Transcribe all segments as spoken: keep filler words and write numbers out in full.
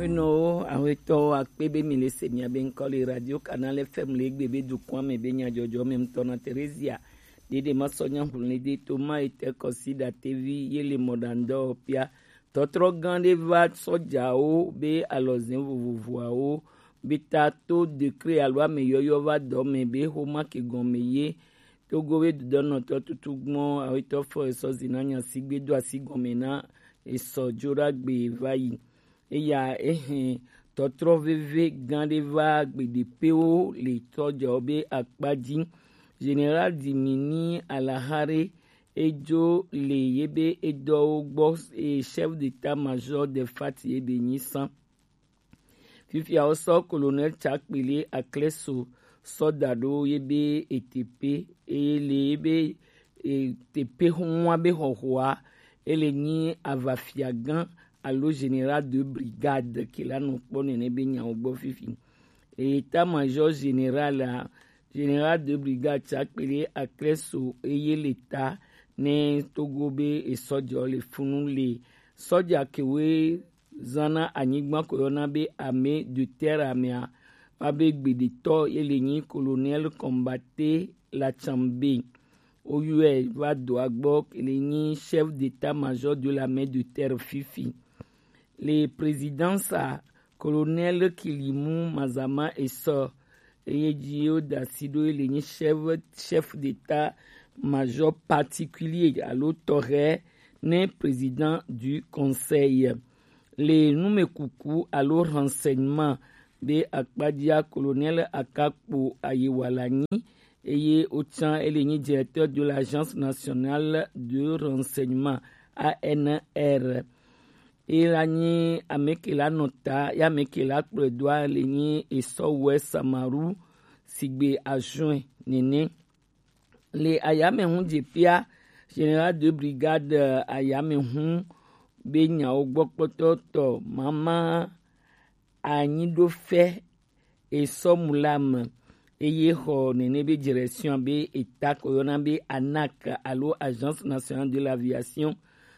Eno awetɔwo akpe be mi le se mia be ŋkɔ le Radio Canal F M le egbe be dukɔa me be nyadzɔdzɔ me ŋutɔ na Teresia. Dede ma sɔ nya ŋlɔ de to ma ete kɔsi da tevi ye le mɔɖaŋdɔ pia. Tɔtrɔ gã ɖe va sɔjawo be alɔzẽ vovovoawo be ta to décret alo ameyɔyɔ va dɔ me be xoma ke gɔme ye. Togo be dodɔnɔtɔ tutu gbɔn awetɔ fɔ esɔ zina nya sigbe do asi gɔme na esɔ joɖagbe va yi. Eya ehe tɔtrɔ veve gã ɖe va gbeɖepewo le tɔjawo be akpa dzi. Général Dimini Alahare edzo le ye be edɔwo gbɔ, eye chef d'état-major de fat ye be nyi san. Fifia wosɔ Colonel Tsakpele Akleso sɔ da ɖo ye be etepe, eye le ye be etepe hɔnwa be xɔxɔa, ele nyi avafiagã alo général de brigade ke la nɔ kpɔ nene be nyawo gbɔ fifi. État-major général a, général de brigade Tsakpele Akleso eye le ta ne Togo be esɔjɔ le funu le sɔja kewe zana anyigba ko yɔna be armée de terre amea, wa be gbedetɔ ye le nyi Colonel Combatté Latchambe. Oyɔe va doa gbɔ ke le nyi chef d'état-major de l'armée de terre fifi. Le présidence a Colonel Kilimu Mazama esɔ eye dzi wo da si ɖo ye le nyi chef, chef d'état-major particulier alo tɔxɛ ne président du conseil. Le numekuku alo renseignement be akpadzia Colonel Akakpo Ayewala nyi eye wotsã ele nyi directeur de l'Agence nationale de renseignement, A N R. Ela nyi ame ke la nɔ ta ya ame ke la kplɔe doa le nyi esɔwɛ Samaru sigbe ajuin nene. Le ayamehun dzepia général de brigade ayamehun be nyawo gbɔ kpɔtɔtɔ mama anyi ɖo fɛ esɔ mu la me eye xɔ nene be direction be eta ko yɔna be anak alo Agence nationale de l'aviation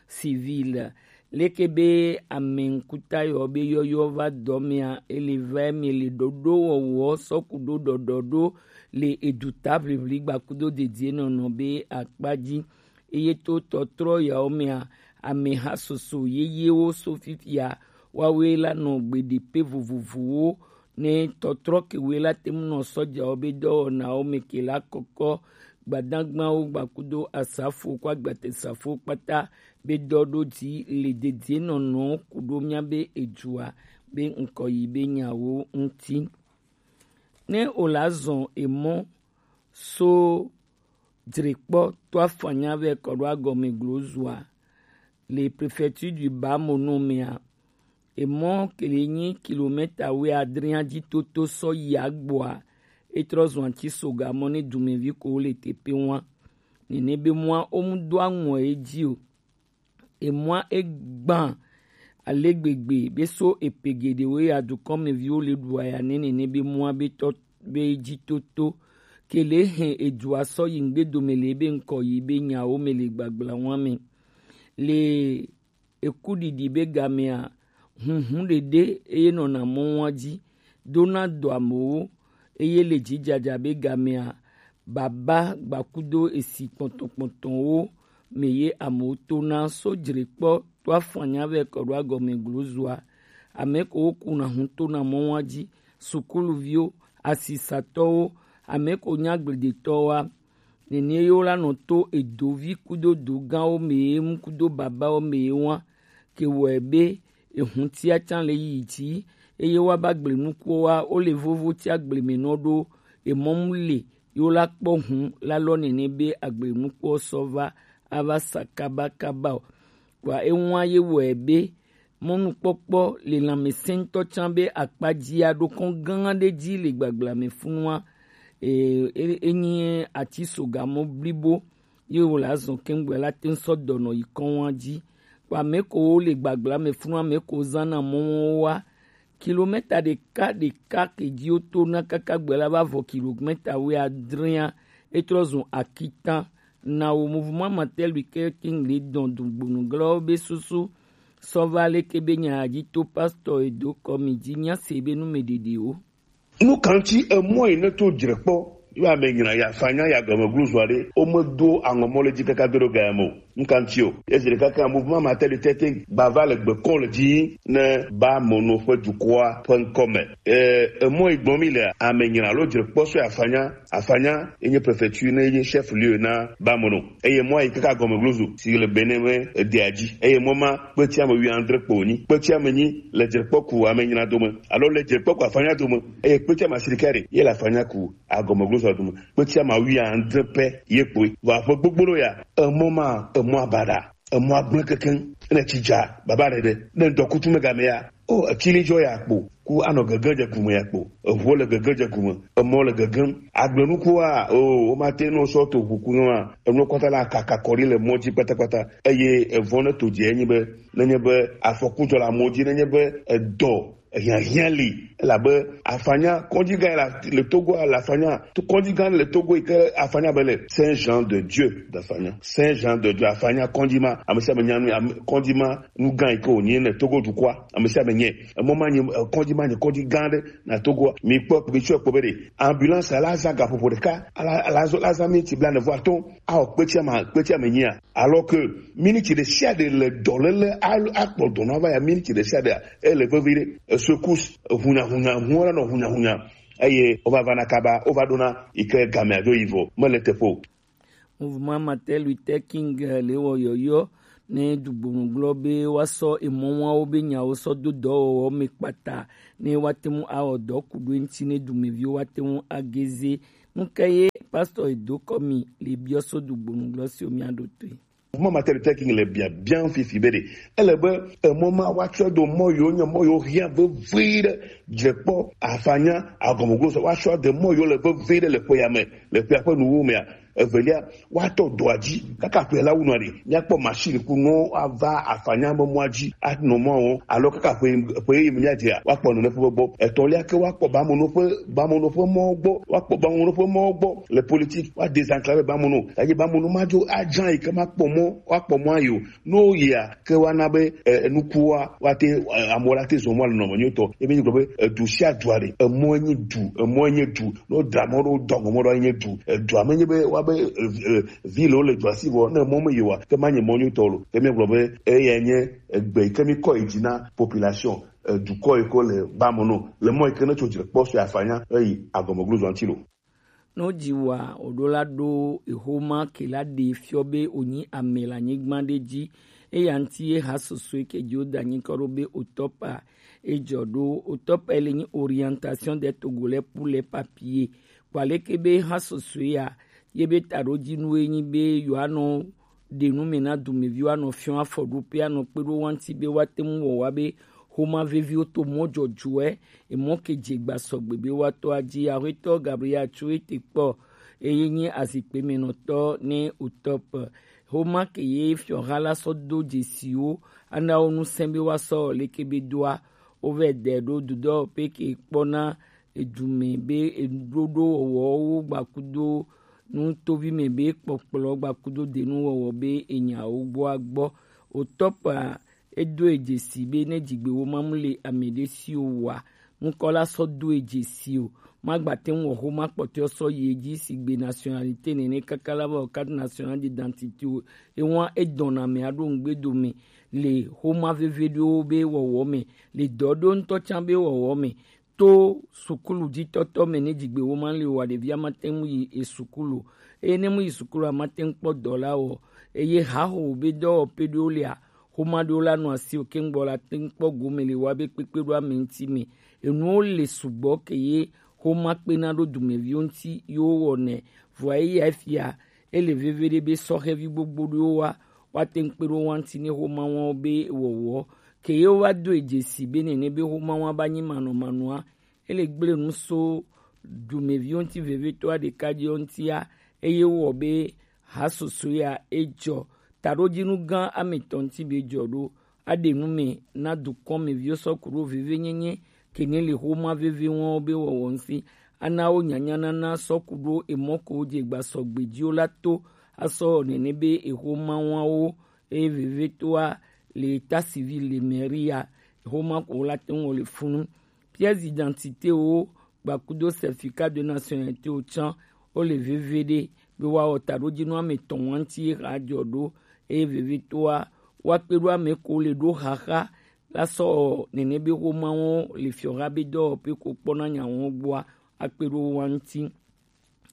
civile. Leke be ame ŋkuta yɔ be yɔyɔ va dɔ mea, ele va eme le ɖoɖo wɔwɔ sɔku ɖo ɖɔɖɔ ɖo le eduta ʋliʋli gbakudo dedie nɔnɔ be akpa dzi. Eye to tɔtrɔ yawo mea, ameha soso yeyewo so fifia, woawoe la nɔ gbeɖipe vovovowo ne tɔtrɔ kewoe la te ŋu nɔ sɔjawo be dɔwɔnawo me ke la kɔkɔ gbadagbawo gbakudo asafo kɔ agbatesafo kpata be dɔ ɖo dzi le dedienɔnɔ ku ɖo mía be edzua be ŋkɔ yi be nyawo ŋuti. Ne o la zɔn emɔ so dzrekpɔ to afanya vɛ kɔ ɖo agɔme glozua le préfecture du Bas-Mono mea, emɔ ke le nyi kilomɛta wuiadre dzi toto sɔ yi agbɔa, e trɔ zɔn ati soga mɔ ne dumevi ko le teƒe wa. Nene be mɔa o mu do aŋɔ edzi o. Emɔa e gbã ale gbegbe be so epe geɖewo ya dukɔmeviwo le ɖu aya ne nene be mɔa be tɔ be dzi toto ke le hɛn edua sɔ yi ŋgbe dome le be ŋkɔ yi be nyawo me le gbagblã wa me. Le ekuɖiɖi be gamea, hunhun ɖeɖe eye nɔna mɔnua dzi dona dɔ amewo, eye le dzidzadza be gamea, baba gbakudo esi kpɔntɔkpɔntɔwo me ye amewo tona so dzrekpɔ to afanya vɛ kɔ ɖo agɔme glozua. Ame ko wokuna hun tona mɔnua dzi, sukuluviwo, asisatɔwo, ame ko nyagbledetɔwoa, nene ye wola nɔ to edovi kudo dogãwo me ye mu kudo babawo me ye wa ke wɔe be ehun tia tsã le yi dzi eye woaba gble nukuwo wa wo le vovo tia gble me nɔ ɖo emɔ mu le ye wola kpɔ hun la lɔ nene be agble nukuwo sɔ va ava sa kabakaba o. Kpoa eŋua ye wɔe be mɔnukpɔkpɔ le lãmesẽtɔ tsã be akpa dzia ɖo kɔn gã ɖe dzi le gbagblame funua. E, e, enyi ati sogamɔ blibo ye wòle azɔ kɛŋgbɛ la te ŋu sɔ dɔnɔ yi kɔnwa dzi. Kpa ame ko wo le gbagblame funua, ame ko zana mɔwo wa. Kilomɛta ɖeka ɖeka ke dzi woto na kaka gbe la va vɔ kilomɛta wuiadrea, etrɔ zun akitan. Na wo mouvement Martin Luther King le dɔn dugbonuglawo be susu Sɔ va leke be nya ji to pastor e do kɔ mi ji nya se be nu me ɖeɖe o. Nu kan ci emɔ yi ne to dzre kpɔ yo ame nyina ya fanya ya gɔme gluzo aɖe o me do aŋɔ mɔ le dzi kaka do ɖo ga ya me o. Nu kan ci o. Ezi ɖeka kan mouvement Martin Luther King ba va le gbe kɔ le dzi ne ba mono ƒe dukɔa ƒe ŋkɔ me. Eh, emɔ yi gbɔm mi le ame nyina lo dzre kpɔ so ya fanya, afanya enye prefecture ne enye chef lieu na ba mono. Eye mɔ yi kaka gɔme gluzo si le Benin me edea dzi. Eye mɔ ma kpeti ame wuiadre kpo wonyi. Kpeti ame nyi le dzrekpɔku ame nyina dome alo le dzrekpɔku afanya dome. Eye kpeti ame asiɖekɛ ɖe ye le afanya ku agɔme gluzo dome. Kpeti ame wuiadre pɛ ye kpoe. Vɔ aƒe gbogbo ɖo ya, emɔ ma, emɔ abaɖa, emɔ agblẽ kekeŋ. Ne tsi dza baba ɖe ɖe, ne ŋdɔkutsu megame ya, o, etsili dzɔ ya kpo. Ku anɔ gege dze gume ya kpo. Eʋuwo le gege dze gume. Emɔ le gegem. Agblenukuwoa, o, womate nɔ sɔ to ʋu ku nɔa. Enuwo kpata la kaka kɔ ɖi le mɔ dzi kpatakpata. Eye evɔ ne to dze enyi be, nenye be afɔku dzɔ le amewo dzi, nenye be edɔ hiahiã li, elabe afanya kɔdzi gã la le Togo la, afanya to kɔdzi gã le Togo yi ke afanya be le Saint Jean de Dieu d'afanya. Saint Jean de Dieu afanya kɔdzi ma, ame sia ame nya nu, ame, kɔdzi ma nu gã yi ke wònye le Togo dukɔa, ame sia ame nye. Emɔ ma nye, eh, kɔdzi ma nye kɔdzi gã aɖe na Togoa. Mi kpɔ, mi tsɔe kpɔ be ɖe ambulance la zã gaƒoƒo ɖeka, la, la zɔ, la zã miniti blaene vɔ atɔ̃, awɔ kpetsia ma, kpetsia me nyia. Alors que miniti ɖe sia ɖe le dɔléle a-, akpɔ dɔ na va ya miniti ɖe sia ɖea, ele vevi ɖe. Esecousse, ehunyahunya, hunya la nɔ hunyahunya. Eye wova va na kaba, wova ɖona yi ke gamea dzo yi vɔ, mele teƒe o. Mouvement Martin Luther King, eh, le wɔ yɔyɔ ne dugbonu gblɔ be woasɔ emɔwawo be nyawo sɔ do dɔwɔwɔ me kpata ne woate ŋu awɔ dɔ ku ɖo eŋuti ne dumeviwo woate ŋu ageze. Nu ka ye pastor Edo Kɔmi le biɔ so dugbonu gblɔ siwo míaɖo toe? Mouvement Martin Luther King le biabiam fifi be ɖe ele be emɔ ma woatsɔ do mɔ yiwo nye mɔ yiwo hiã vevie ɖe, dzrekpɔ, afanya, agɔmegosɔ, woatsɔ de mɔ yiwo le vevie ɖe le ƒe ya me, le ƒea ƒe nuwuwu mea. Evelia, woatɔ dɔa dzi kaka ƒe la wu nɔ ɖe, míakpɔ machine ku nɔ ava afanya be mɔa dzi anɔ mɔa wɔm, alo kaka ƒe, ƒe yi míadzea, woakpɔ nɔ ne ƒe gbɔ. Etɔ̃lia ke woakpɔ bamono ƒe, bamono ƒe mɔwo gbɔ, woakpɔ bamono ƒe mɔwo gbɔ le politique, woadesenclaver bamono. Eye bamono madzo adzra yi ke makpɔ mɔ, woakpɔ mɔa yi o. Ne woyia ke woana be, eh, nukuwoa, woate, eh, amewo la te zɔ mɔ le nɔnɔme nyuitɔ. Ebe nyi gblɔ be, eh, du sia du aɖe, emɔe nye du, emɔe nye du. Ne wodra mɔ ɖo, dɔ gɔmɔ ɖo, enye du. Edua me nye be woabe, eh, eh, vi le wo le dua si vɔ, ne mɔ me yewa, ke ma nye mɔ nyuitɔ lo. Ke míagblɔ be, eya nye egbe yi ke mi kɔ yi dzi na population, eh, dukɔ yi ke le ba me no. Le mɔ yi ke ne tso dzre kpɔ so afanya, eyi agɔmeglo zɔ ŋuti lo. Ne wodzi wòa, wòɖo la ɖo exoma ke la ɖee fiɔ be wònyi ame le anyigba ɖe dzi. Eya ŋuti ye ha susue ke dzi woda nyikɔ ɖo be Otɔpa edzɔ ɖo. Otɔpa le nyi orientation des Togolais pour les papiers. Kpɔ aleke be ha susue ya, ye be taɖodzinu ye nyi be yewoanɔ ɖe nu me na dumeviwo, anɔ fiɔ afɔɖoƒe, anɔ kpe ɖo wo ŋuti be woate ŋu wɔ wa be xoma veviwo to mɔ dzɔdzɔe, emɔ ke dze gba sɔgbe be woatɔ adzi. Aƒetɔ Gabriel Atsuete kpɔ, eye nyi azikpemenɔtɔ ne Otɔp. Xoma ke ye fiɔha la sɔ do dzesiwo, ana wo ŋusẽ be woasɔ leke be doa, wovɛ dɛ ɖo dudɔ pe ke kpɔna edume be eɖoɖo wɔwɔwo gbakudo nu tovi me be kpɔkplɔ gbakudo denu wɔwɔ be enyawo gbɔa gbɔ. Otɔpa edo edzesi be ne dzigbe wo mamu le ame ɖe si o wa, ŋkɔ la sɔ do edzesi o. Magbate ŋu wɔ xoma kpɔtɔe sɔ yi edzi sigbe nationalité nene kaka la va wɔ carte nationale d'identité o. Ewa edɔna ame aɖo ŋugbe dome le xoma veve ɖewo be wɔwɔ me, le dɔ ɖewo ŋutɔ tsã be wɔwɔ me. To sukulu dzitɔtɔ me ne dzigbe wo ma li wa, ɖevia ma te ŋu yi esukulu o. Eye ne mu yi sukulu a, ma te ŋu kpɔ dɔ la wɔ. Eye haho be dɔwɔƒe ɖewo lia, xoma ɖewo la nɔ asi o, ke ŋgbɔ la te ŋu kpɔ gome le wa be kpekpe ɖo ame ŋuti me. Enuwo le sugbɔ ke ye xoma kpena ɖo dumeviwo ŋuti ye wo wɔnɛ. Vɔa eya fia, ele veve ɖe be sɔhɛvi gbogbo ɖewo wa, woate ŋu kpe ɖo wo ŋuti ne xoma wɔwo be wɔwɔ. Ke ye wova do edzesi be nene be xoma wa ba nyi manɔmanɔa, ele gblẽ nu so dumeviwo ŋuti vevietɔa ɖeka dzi wo ŋutia, eye wowɔ be ha susue ya edzɔ. Taɖodzinu gã ame etɔ̃ ŋuti be edzɔ ɖo, aɖe nu me na dukɔ me viwo sɔ ku ɖo vevenyenye ke ne le xoma veve wɔwo be wɔwɔ ŋuti, ana wo nyanyanana sɔ ku ɖo emɔ ko wodze gba sɔgbe dzi wo la to, asɔ wɔ nene be exoma wɔwo, eye vevetoa le état civil le mairie ya. Xoma ko wo la te ŋu wɔ le funu. Pièce d'identité wo gbakudo certificat de nationalité wo can wo le veve ɖe be wa wɔ taɖojinu ame tɔn wa ŋuti ye xa jɔ ɖo eye veve toa wa kpe ɖo ame ko le ɖo xaxa la sɔ nene be xoma wo le fiɔxa be dɔwɔƒe ko kpɔna nya wo gbɔa akpe ɖo wa ŋuti.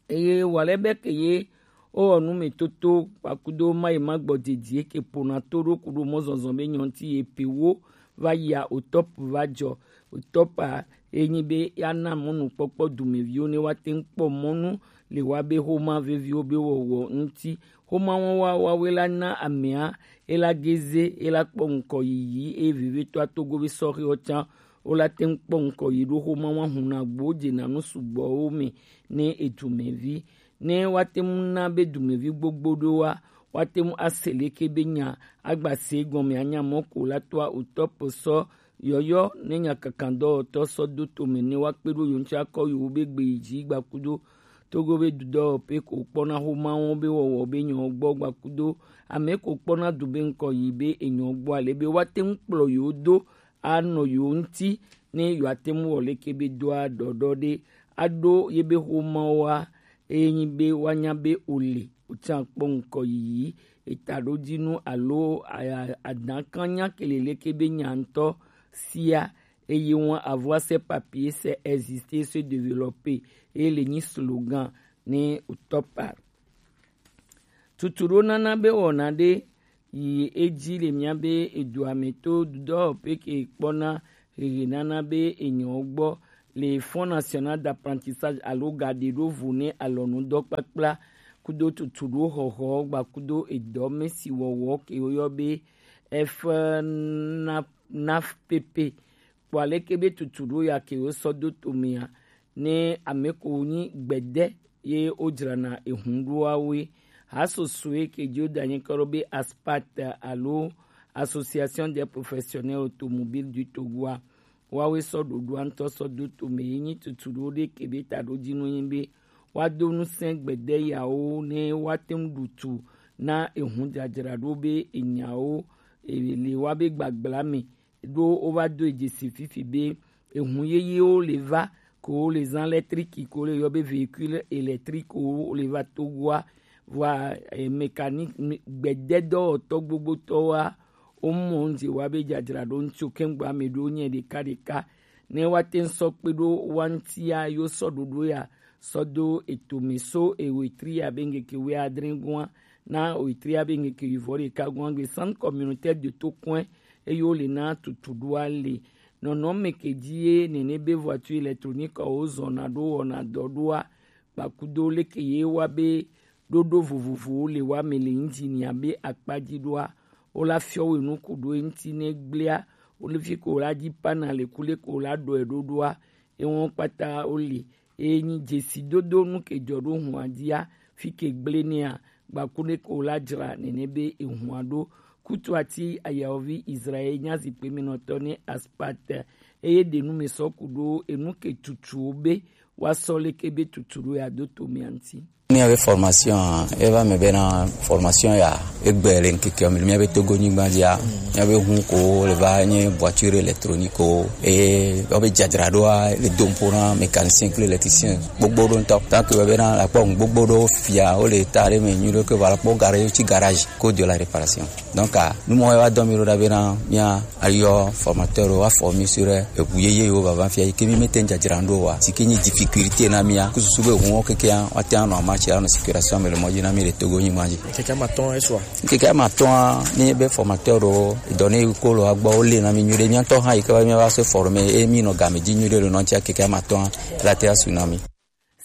Eye wale be ke ye wo wɔ nu me toto kpakudo ma yi ma gbɔ didi ke pona to ɖo kuɖo mɔ zɔzɔ be nyɔnti ye pe wo va yia otɔp va jɔ. Otɔpa enyi be ya na mɔnu kpɔkpɔ dumeviwo ne wa te ŋu kpɔ mɔnu le wa be xoma veviwo be wɔwɔ ŋuti. Xoma wɔn wa wa we la na amea e la geze e la kpɔ ŋkɔ yiyi eye vevetɔa togo be sɔxiwo can wo la te ŋu kpɔ ŋkɔ yi ɖo xoma wa hun na gbo je na nu sugbɔwo me ne edumevi ne wa te ŋu na be dumevi gbogbo ɖo wa wa te ŋu ase leke be nya agba se gɔme anya mɔ ko la toa otɔpo sɔ yɔyɔ ne nya kankan dɔwɔtɔ sɔ do tome ne wa kpe ɖo yo ŋuti akɔ yo be gbe yi dzi gbakudo togo be dudɔwɔƒe ko kpɔna xoma wo be wɔwɔ be nyɔ gbɔ gbakudo ame ko kpɔna du be ŋkɔ yi be enyɔ gbɔ ale be wa te ŋu kplɔ yo do anɔ yo ŋuti ne yo ate ŋu wɔ leke be doa ɖɔɖɔ ɖe aɖo ye be xoma wa eye nyi be wa nya be o le o can kpɔ ŋkɔ yiyi etaɖojinu alo a- adankan nya kele leke be nya ŋutɔ sia eye wọn avoir ces papiers c'est exister se développer eye le nyi slogan ne o tɔpa. Tutu ɖo nana be wɔna ɖe yi edzi le mía be edoa me to dɔwɔƒe ke kpɔna hehe nana be enyɔ gbɔ le Fonds National d'Apprentissage alo gaɖeɖovo ne alɔnudɔkpakpla kudo tutu ɖo xɔxɔ gba kudo edɔ me si wɔwɔ ke woyɔ be F N A P P kpɔ aleke be tutu ɖo ya ke wosɔ do tomea ne ame ko nyi gbede ye wodzrana ehun ɖoa woe. Hasosoe ke dzi wodanye kɔ ɖo be ASPAT alo Association des Professionnels Automobiles du Togo a, woawoe sɔ ɖoɖoa ŋutɔ sɔ do tome ye nyi tutu ɖo ɖe ke be taɖojinu nyi be woado ŋusẽ gbede yawo ne woate ŋu ɖu tu na ehun dzadzraɖo be enyawo e, le wa be gbagbla me ɖo wova do dzesi fifi be ehun yeyewo le va ko le zan électrique ko le yɔ be véhicule électrique wo le va Togoa vɔa eh, mécanique gbede dɔwɔtɔ gbogbotɔwoa womɔ ŋdze wa be dzadzraɖo ŋtsi kɛŋgbɔ ame ɖewo nyɛ ɖeka ɖeka ne woate ŋu sɔ kpe ɖo wa ŋtia yewo sɔ ɖoɖo ya sɔ do etome so ewetri abe ŋkeke wuiadre gɔa na wetri abe ŋkeke wuivɔ ɖeka gɔa gbe centre communautaire de Tokoe eye wole na tutu ɖoa le nɔnɔme ke dzi ye nene be voiture électronique wo zɔna ɖo wɔna dɔ ɖoa kpakudo leke ye wa be ɖoɖo vovovowo le wa me le ŋdzi nia be akpa dzi ɖoa wola fiɔ wo enu ku ɖo eŋti ne gblea wole fi ko la dzi pana le kule ko la ɖɔe ɖo ɖoa ewɔn kpata wole eye nyi dzesi dodo nu ke dzɔ ɖo hua dzia fi ke gble nea gbaku ne ko la dzra nene be ehua ɖo kutu ati ayawovi Israel nya zikpe minɔtɔ ne Aspat eye ɖe nu me sɔ ku ɖo enu ke tutuwo be wa sɔ leke be tutu ɖo ya do to mia ŋti. Míaƒe formation eva me bena formation ya egbe le ŋkeke me míaƒe Togo nyigba dzia míaƒe hu ko le va nye voiture électronique ko eye wobe dzadzraɖoa le dom ƒo na mécanicien kple électricien gbogbo ɖo ŋutɔ tant que bena akpɔ ŋu gbogbo ɖo fia wo le ta ɖe me nyuie ɖo ke va kpɔ garage tsi garage ko de la réparation. Donc numɔ wa dɔ mi ɖo ɖa bena mía ayɔ formateur wa former sur eʋu yeye yiwo vava fia yi ke mi mete dzadzra ɖo wa si ke nyi difficulté na mía ku susu be ʋuwo kekea wa te anɔ ama tsi anɔ circulation me le mɔ dzi na mi le Togo nyigba dzi. Keke ma tɔn esua. Keke ma tɔn ne be formateur ɖo dɔ ne ko lo agbɔ wo le na mi nyuie ɖe mía tɔ hã yi ke va mía va se former e mi nɔ game dzi nyuie ɖe le nɔ tia keke ma tɔn la te asu na mi.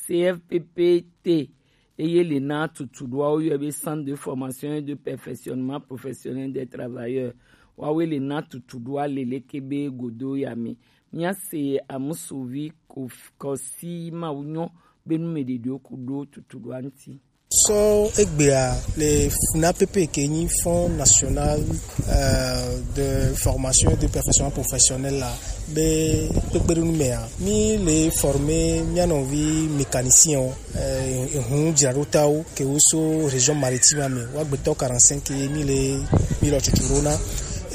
C F P P T eye le na tutu ɖoa woyɔe be Centre de Formation et de Perfectionnement Professionnel des Travailleurs. Wawoe le na tutu ɖoa le leke be godo ya me. Mía se amusuvi ko kɔsi mawu nyɔ be nu me ɖeɖewo ku ɖo tutu ɖoa ŋti. Sɔ egbea le F N A P P ke nyi Fonds National euh, de Formation et de Perfectionnement Professionnel la be kpekpeɖeŋu mea mi le former mía nɔvi mécanicien o ehun dzraɖotawo ke wo so région maritime me wa gbetɔ quarante-cinq ye mi le mi lɔ tutu ɖo na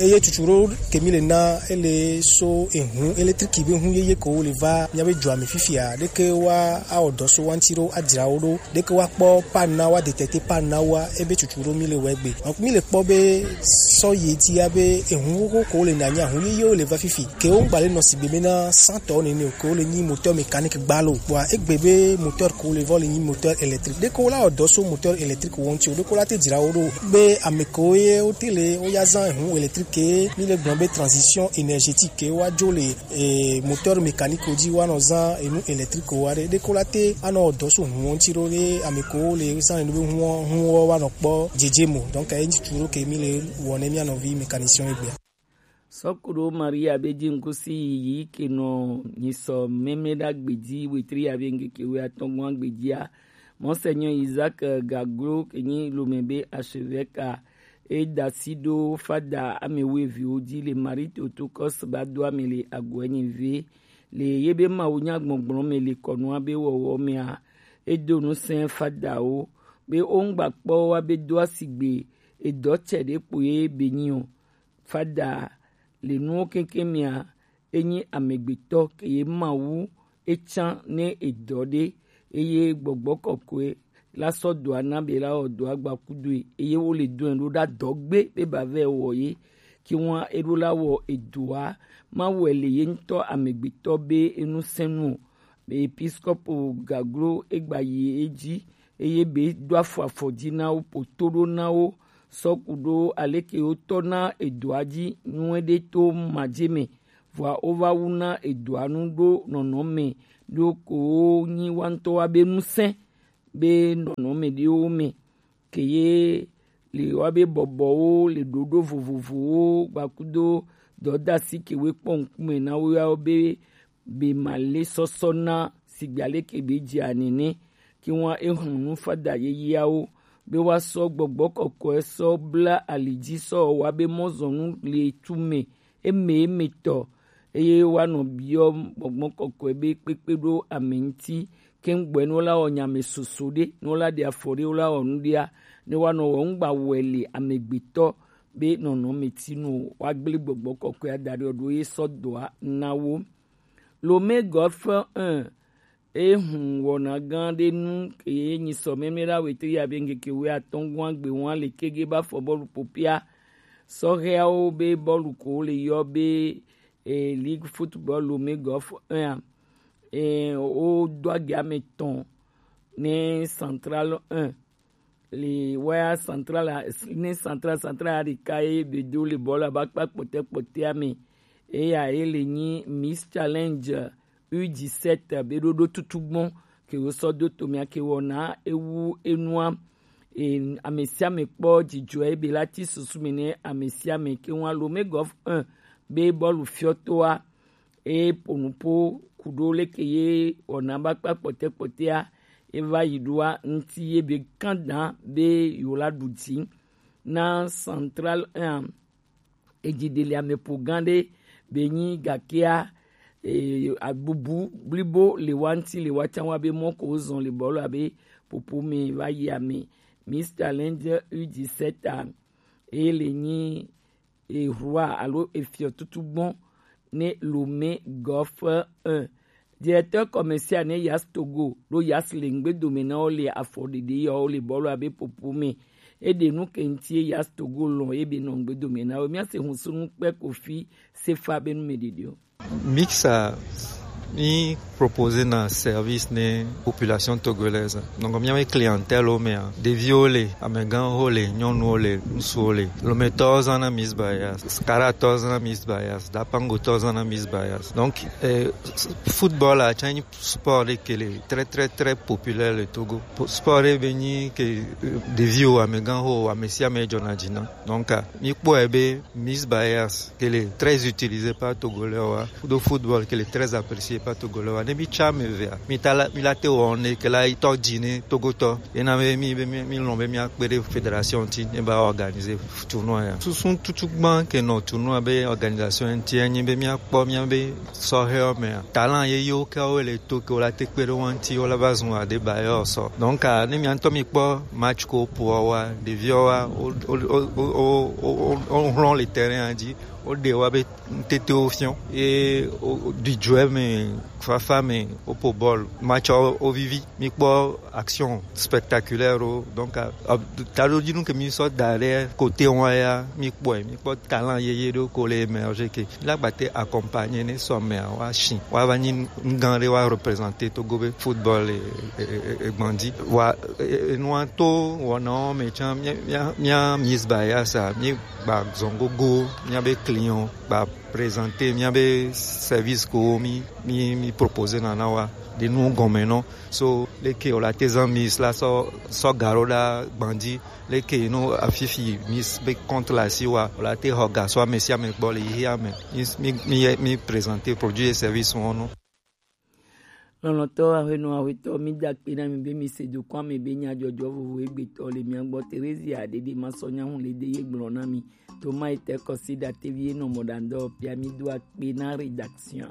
Eye tutu ɖo ke mi le na ele so ehun électrique be hun yeye ko le va mía be dua me fifia. Ɖeke wa awɔ dɔ so wa ŋuti ɖo adzra wo ɖo. Ɖeke wa kpɔ panne na wa détecter panne na wa ebe tutu ɖo mi le wɔ egbe. Donc mi le kpɔ be sɔ ye ti ya be ehun xoxo ko le na nya hun yeye wo le va fifi. Ke wo ŋgba le nɔ sigbe be na cent tonnes nene o, ke wo le nyi moteur mécanique gba lo. Kpɔa egbe be moteur ko le vɔ le nyi moteur électrique. Ɖeke wo la wɔ dɔ so moteur électrique wo ŋuti o, ɖeke wo la te dzra wo ɖo be ame ko ye wo te le wo ya zan ehun électrique ke mi le gblɔ be transition énergétique ke wa dzo le eh, moteur mécanique wo dzi wa nɔ zan enu électrique wa ɖe. Ɖeke wo la te anɔ wɔ dɔ so hun wo ŋuti ɖo ɖe ame ko le zan enu be hun wo, hun wo wa nɔ kpɔ dzedze mo. Donc e ŋuti ɖo ke mi le wɔ ne mía nɔvi mécanicien egbea. Sɔkuɖo Maria be ji ŋkusi yiyi ke nɔ nyisɔ mɛmɛ ɖa gbedzi wetri ya be ŋkeke we atɔgɔn gbedzia. Monseigneur Isaac Gaglo ke nyi lome be archevêque a e da si ɖo fada ame wuiviwo dzi le Marie Theotokos ba do ame le agu enyi ve le ye be Mawu nya gbɔgblɔ me le kɔnua be wɔwɔ mea. E do nusẽ fadawo be wo ŋgba kpɔ wa be do asigbe edɔ tsɛ ɖe kpo ye be nyi o. Fada le nuwo keŋkeŋ mea, enyi amegbetɔ ke ye Mawu etsã ne edɔ ɖe, eye gbɔgbɔ kɔkɔe la sɔ dɔa na be la wɔ dɔa gba kudoe, eye wo le dɔe ɖo ɖa dɔ gbe be ba vɛ wɔ ye. Kiwan eɖo la wɔ edɔa, ma wɛ le ye ŋutɔ amegbetɔ be enusɛnu o. Episkopo Gaglo egba yi edzi eye be do afɔ afɔ dzi na wo, poto ɖo na wo, sɔ ku ɖo aleke wotɔ na edoa dzi nyuie ɖe to madze me, vɔa wova wu na edoa nu ɖo nɔnɔme ɖo ko nyi wa ŋutɔ wa be ŋusẽ be nɔnɔme ɖewo me. Ke ye le wa be bɔbɔwo le ɖoɖo vovovowo gbakudo dɔdasi ke we kpɔ ŋkume na wo yawo be be ma le sɔsɔ na sigba leke be dzi anene. Ke wa ehun nu fada yeyeawo be wa sɔ gbɔgbɔ kɔkɔe sɔ bla ali dzi sɔ wa be mɔzɔnu le tu me eme emetɔ, eye woanɔ biɔ gbɔgbɔ kɔkɔe be kpekpe ɖo ame ŋuti. Ke ŋgbɔe ne wola wɔ nyame soso ɖe, ne wola ɖe afɔ ɖe, wola wɔ nu ɖea, ne woanɔ wɔ ŋgba wɔe le amegbetɔ be nɔnɔme ti nu o, woagblẽ gbɔgbɔ kɔkɔe ada ɖe ɖo ye sɔ dɔa na wo. Lome Golf un, e hun wɔna gã ɖe nu ke ye nyi sɔ mɛmɛ ɖa wetri ya be ŋkeke we atɔ̃ gɔ̃ agbe wɔn le kege ba fɔ bɔlu popia. Sɔhɛawo be bɔlu ko le yɔ be e, Ligue Football Lomé Golf un a, e, wodo agi ame etɔ̃ ne Central un. Le waya Central a, ne Central, Central a ɖeka ye be do le bɔla ba kpa kpɔtɛ kpɔtɛa me. Eya ye le nyi Miss Challenge U dix-sept be ɖoɖo tutu gbɔn ke wo sɔ do to mia ke wɔna ewu enua. E, ame sia ame kpɔ dzidzɔe be la ti susu me ne ame sia ame ke ŋua Lomé Golf un be bɔlu fiɔtoa e po nupo ku ɖo leke ye wɔna ba kpa kpɔtɛ kpɔtɛa e va yi ɖoa ŋuti ye be kan dan be yewo la ɖu dzi na Central un. Edzi ɖe le ame ƒo gã ɖe be nyi gakea, e, abubu blibo le wa ŋuti le wa tsã wa be mɔ ko wozɔn le bɔlu abe popo me va yi ame. Miss Challenge U dix-sept a, e le nyi e roi alo efiɔ tutu gbɔn ne Lomé Golf un. Directeur commercial ne Yas Togo ɖo Yas le ŋgbedome na wo le afɔɖeɖe yawo le bɔlu abe popo me. Eɖe nu ke ŋuti Yas Togo lɔn ebe nɔ ŋgbedome na wo. Míase husunu kpe Kofi Sefa be nu me ɖeɖewo. Mixa mi proposer na service ne population togolaise. Donc miawe clientèle wo mea, ɖeviwo le, amegãwo le, nyɔnuwo le, ŋutsuwo le. Lometɔwo zãna Miss Bayas, Skaratɔwo zãna Miss Bayas, Dapangotɔwo zãna Miss Bayas. Donc eh, football a tsã nyi sport ɖe ke le très très très populaire le Togo. Po- Sport ɖe be nyi ke eh, ɖeviwo, amegãwo, ame sia ame dzɔna dzi na. Donc ah, mi kpɔe be Miss Bayas ke le très utilisé par Togolais wa, do football ke le très apprécié Fa Togo lɔ wa ne mi tsa me vea, mi ta la mi la te wɔ ne ke la yi tɔ dzi ne Togo tɔ. Ena be mi be mi mi lɔn be mi akpe ɖe fédération ti ne ba organiser tournoi ya. Susu tutu gban ke nɔ tournoi be organisation ti enyi be mi akpɔ mi be sɔhɛ mea, talent ye yo ke wo le to ke wo la te kpe ɖe wo ŋuti wo la va zun aɖe ba yɔ sɔ. Donc a ne mi ŋutɔ mi kpɔ match ko po wa ɖeviwo wa o o o o o o o hlɔn le terrain dzi, o ɖe wa be ŋtete wo fiɔ ye o o ɖi dzo me fafa me o po bɔl match o o vivi mi kpɔ action spectaculaire o. Donc a taɖodzinu ke mi sɔ da ɖe côté wa ya mi kpɔe mi kpɔ talent yeye ɖewo ko le émerger ke la gba te accompagner ne sɔ mea wa shi wa va nyi ŋgã ɖe wa représenter Togo be football e e e e gbandi wa e e nua to wɔnawo me tsã mia mia mia mis ba ya sa mi gba zɔn gogo mia be client gba présenter mia be service ko mi mi mi proposer na na wa de nu gɔme nɔ so leke o la te zan mis la sɔ sɔ garo la gbandi leke no afifi mis be compte la si wa o la te xɔ gasɔ ame sia ame gbɔ le yi ame mi mi mi présenter produit et service wɔn no. Lɔlɔ̃tɔ aƒenɔ aƒetɔ, mi da akpe na mi be mi se dokɔ ame be nyadzɔdzɔ vovo egbetɔ le mia gbɔ. Terezia ɖeɖe ma sɔ nyahu le de ye gblɔ na mi. Toma ete kɔsi ɖatevi ye nɔ mɔ ɖandɔ pia mi do akpe na rédaction.